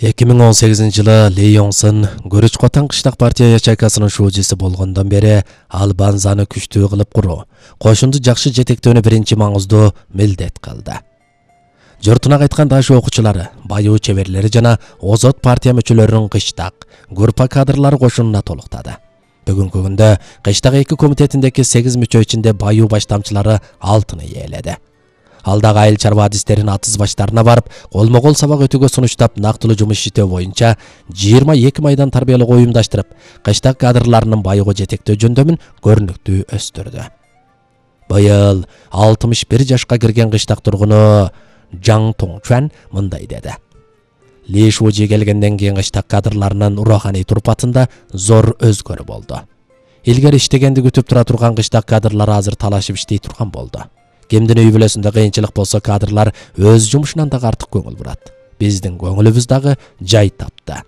2018-жылы Ли Йоңсын Көрүч-Котан кыштак партия ячейкасынын шуучусу болгондон бери ал Банзаны күчтүү кылып куруу, кошунду жакшы жетектөөнү биринчи маңыздуу милдет кылды. Жортуна кайткан дашуу окуучулары, баюу чеберлери жана озот партия мүчөлөрүнүн кыштак, группа кадрлары кошунуна толуктады. Бүгүнкү күндө кыштак 2 комитетиндеги 8 мүчө ичинде баюу баштамчылары алтыны ээледи. Алдагы айыл чарба адистерин атыз баштарына барып, колмо-кол сабак өтүүгө сунуштап, нактылуу жумуш иштөө боюнча 22 майдан тарбиялык уюмдаштырып, кыштак кадрларынын байыгы жетектөө жөндөмүн көрүнүктүү өстүрдү. Быйыл 61 жашка кирген кыштак тургуну Жаң Тоңчуан мындай деди. Ли Шужи келгенден кийин кыштак кадрларынын ураханий турпатында зор өзгөрүү болду. Илгери иштегенди күтүп тура турган кыштак кадрлары азыр талашып иштей турган болду. Кимдин үй бүлөсүндө кыйынчылык болсо, кадрлар өз жумушунан дагы артык көңүл бурат. Биздин көңүлүбүз дагы жай тапты.